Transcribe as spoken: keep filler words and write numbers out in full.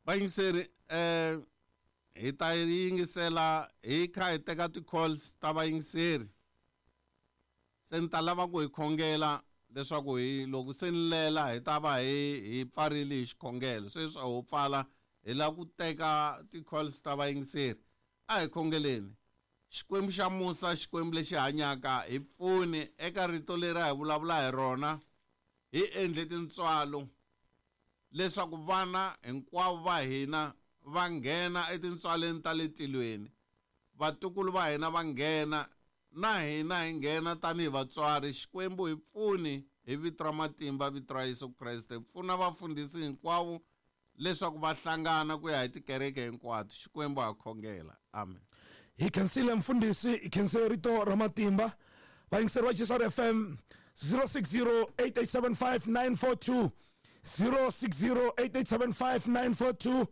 Vayingiseri, eh hi ta yingisela hi kha hi teka ti-calls ta vayingiseri. Se ni ta lava ku hi khongela leswaku hi loko se ni lela hi ta va hi hi pfarile hi xikhongelo. Sweswi a ho pfala, hi lava ku teka ti-calls ta vayingiseri. A hi khongeleni. Xikwembu xa musa, Xikwembu lexi hanyaka, hi pfuni eka rito leri a hi vulavula hi rona. Hi endle tintswalo leswaku vana hinkwavo va hina va nghena etintswaleni ta le tilweni, vatukulu va hina va nghena, na hina hi nghena tanihi vatswari. Xikwembu, hi pfuni hi vito ra matimba, vito ra Yesu Kreste. Pfuna vafundhisi hinkwavo leswaku va hlangana ku ya hi tikereke hinkwato. Xikwembu, ha khongela, amen. Hi khensile mfundhisi, hi khensile rito ra matimba. Vayingiseri va G S R F M, zero six zero eight eight seven five nine four two, zero six zero eight eight seven five nine four two.